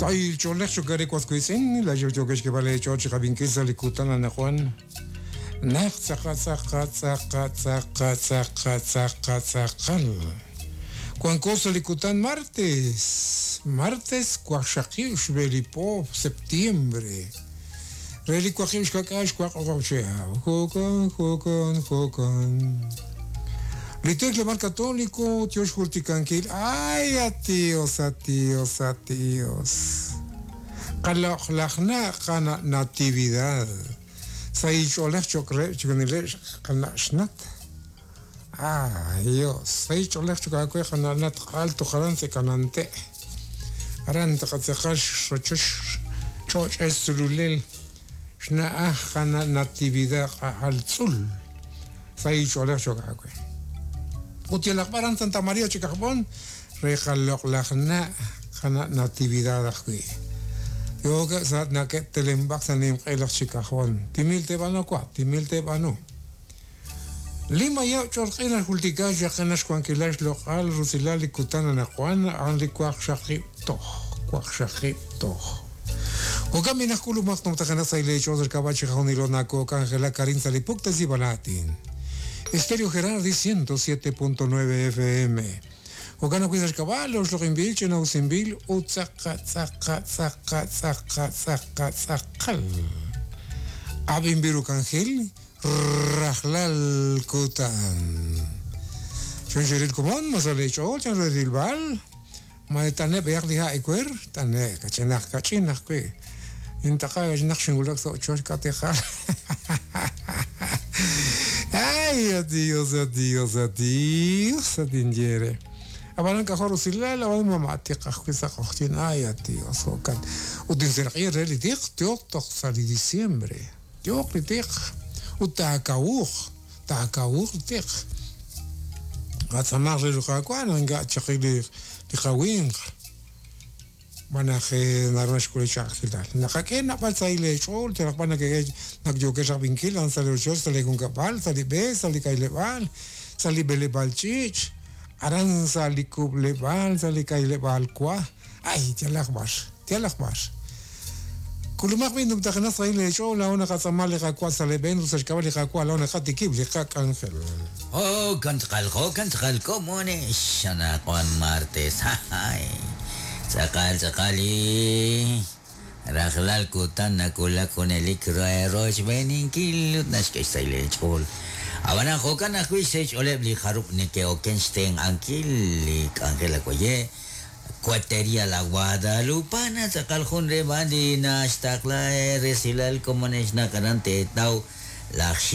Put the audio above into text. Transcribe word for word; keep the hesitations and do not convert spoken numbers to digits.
Say cholej chokare kwaskuisin, la yokesh que vale choch jabinkisa likutana najuan. Nak tzaqa tzaqa tzaqa tzaqa tzaqa tzaqa tzaqal. Cuancosa likutan martes, martes cuaxaquiux belipo septiembre. Relicuaquiux kakax cuacochea. Jocan, jocan, jocan. Litecle mar católico, Dios jurticanquil. Ay, a tíos, a tíos, a tíos. Qalaqlaqna qana natividad. Saycholej chocre chocnile qanashnat. Ah, Dios. Saycholej chocacue qananat alto jarance canante. Aranta qatseqash rochosh choch esululel. Shna qana natividad altzul. Saycholej chocacue. Utielaqbaran Santa María Chicajbón, rejaloclajna, jana natividad ajui. Yo que sa na que telembak sanim elach Chicajbón. Timil tebano cua, timil tebano. Lima ya chorqina jultikash yaqinash kuankilash loqal rusilal kutana najuan anli kuaq shaqib toj, kuaq shaqib toj. Okamina kulumaq nomtajana saile choser kabachi jaunilonako Ángela Karin Salipukta Zibanatin. Estéreo Gerardi ciento siete punto nueve F M. Ocana cuidas caballos, lo inbil, chena usimbil, utzaca, zaca, zaca, zaca, zaca, zacal. Abimbiru cangel, rajlal kutan. Chon comón, masale chol, chan redilbal, maetane beak diha icuer, tane, cachenaj, cachinaj, que. Intaca, nachingulak, so, chosh, catejal. Ay, adiós, adiós, adiós, adiós. Abalan cajor usilal, abalan mamá, tica, juiza, cojtin, ay, adiós, ocan. Utinserqui, relitic, tiok, toc, sali diciembre. Tiok, litic, utacauj, tacauj, tic. Gatzamar, relujacuan, anga, chaqui, licawing. Manaje narnash kulichaqilal. Naqaqena palsaile chol, teraqpana que nakyokesh binkil, ansale ochol, sale con capal, sale be, sale kailebal, sale belebalchich, aran sale kublebal, sale kailebal kwa. Ay, tialakbash, tialakbash. Kulumaq bin dumtaqna saile chol, la ona qatsamale qakwa sale ben, rusashkabal qakwa, la ona qatikib, liqaq ángel. Oh, kantzqaljo, kantzqalko, mone, shana Juan martes, ay. Sakal sakali rajlal kutan nakula kunelik roch beninkil nashke saile chol abana jokan ajwi sech oleb li harup nike okenstein ankil li Angela koye cuatería la Guadalupana sakal jun rebandi nashtakla resilal como neshna karante tau la